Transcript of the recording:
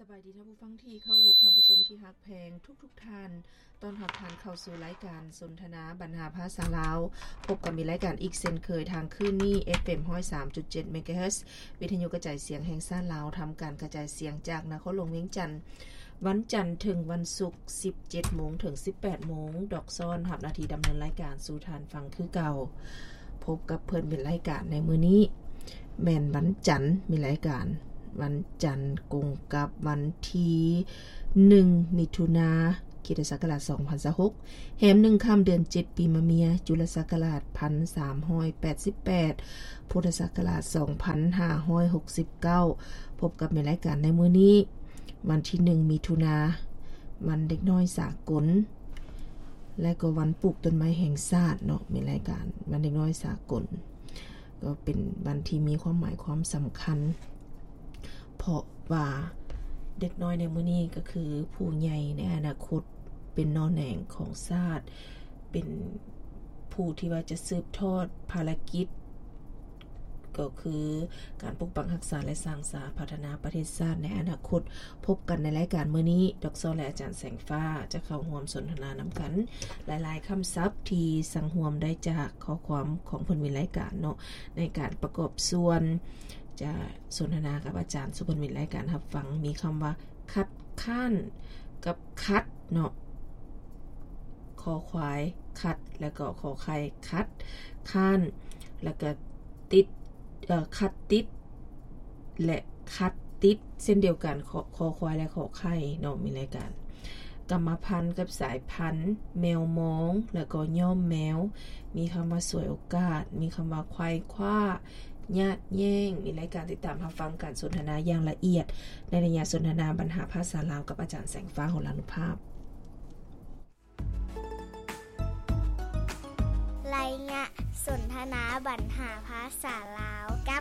ສະບາຍດີທ່ານຜູ້ຟັງທີ່ເຄົາລົບ, ທ່ານຜູ້ຊົມທີ່ຮັກແພງທຸກໆທ່ານ. ຕ້ອນຮັບທ່ານເຂົ້າສູ່ລາຍການສົນທະນາບັນຫາພາສາລາວ. ພົບກັບມີລາຍການອີກເຊັ່ນເຄີຍທາງຄືນນີ້ ເອັຟເອັມ ຮ້ອຍສາມຈຸດເຈັດ ເມກາເຮີດ ວິທະຍຸກະຈາຍສຽງແຫ່ງຊາດລາວ, ທຳການກະຈາຍສຽງຈາກນະຄອນຫຼວງວຽງຈັນ, ວັນຈັນເຖິງວັນສຸກ ສິບເຈັດໂມງເຖິງສິບແປດໂມງ. ດອກຊອນຮັບໜ້າທີ່ດຳເນີນລາຍການສູ່ທ່ານຟັງຄືເກົ່າ. ພົບກັບເພື່ອນເປັນລາຍການໃນມື້ນີ້ ແມ່ນວັນຈັນ ມີລາຍການວັນຈັນກົງກັບວັນທີໜຶ່ງ ມິຖຸນາ ຄຣິສຕະສັກກະລາດ ສອງພັນຊາວຫົກ ແຮມໜຶ່ງຄ່ຳເດືອນເຈັດ ປີມະເມຍ ຈຸລະສັກກະລາດ ພັນສາມຮ້ອຍແປດສິບແປດ ພຸດທະສັກກະລາດ ສອງພັນຫ້າຮ້ອຍຫົກສິບເກົ້າ. ພົບກັບແມ່ນລາຍການໃນມື້ນີ້ ວັນທີໜຶ່ງ ມິຖຸນາ ວັນເດັກນ້ອຍສາກົນ ແລະກໍວັນປູກຕົ້ນໄມ້ແຫ່ງຊາດເນາະ. ແມ່ນລາຍການວັນເດັກນ້ອຍສາກົນ ກໍເປັນວັນທີ່ມີຄວາມໝາຍຄວາມສຳຄັນ ເພາະວ່າເດັກນ້ອຍໃນມື້ນີ້ກໍຄືຜູ້ໃຫຍ່ໃນອະນາຄົດ ເປັນໜໍ່ແໜງຂອງຊາດ ເປັນຜູ້ທີ່ວ່າຈະສືບທອດພາລະກິດ ກໍຄືການປົກປັກຮັກສາ ແລະ ສ້າງສາພັດທະນາປະເທດຊາດໃນອະນາຄົດ. ພົບກັນໃນລາຍການມື້ນີ້ ດອກຊອນ ແລະ ອາຈານແສງຟ້າ ຈະເຂົ້າຮ່ວມສົນທະນານຳກັນຫຼາຍໆຄຳສັບທີ່ສັງຮວມໄດ້ຈາກຂໍ້ຄວາມຂອງເພິ່ນເປັນລາຍການເນາະ ໃນການປະກອບສ່ວນ ຈະສົນທະນາກັບອາຈານສູ່ເພິ່ນເປັນລາຍການຮັບຟັງ. ມີຄຳວ່າ ຄັດຄ້ານ ກັບ ຂັດ ເນາະ, ຄໍຄວາຍ ຂັດ ແລ້ວກໍ ຄໍໄຂ່ ຂັດ, ຄ້ານ ແລ້ວກໍ ຕິດ ເອີ ຂັດຕິດ ແລະ ຂັດຕິດ ເຊັ່ນດຽວກັນ ຄໍ ຄໍຄວາຍ ແລະ ຂໍໄຂ່ເນາະ. ມີລາຍການກຳມະພັນກັບສາຍພັນ, ແມວມອງ ແລ້ວກໍຍ້ອມແມວ, ມີຄຳວ່າສວຍໂອກາດ, ມີຄຳວ່າໄຂວ້ຄວ້າ, ຍາດແຍ່ງ. ມີລາຍການຕິດຕາມຮັບຟັງການສົນທະນາຢ່າງລະອຽດ ໃນໄລຍະສົນທະນາບັນຫາພາສາລາວກັບອາຈານແສງຟ້າ ຫົນລານຸພາບ. ໄລຍະສົນທະນາບັນຫາພາສາລາວກັ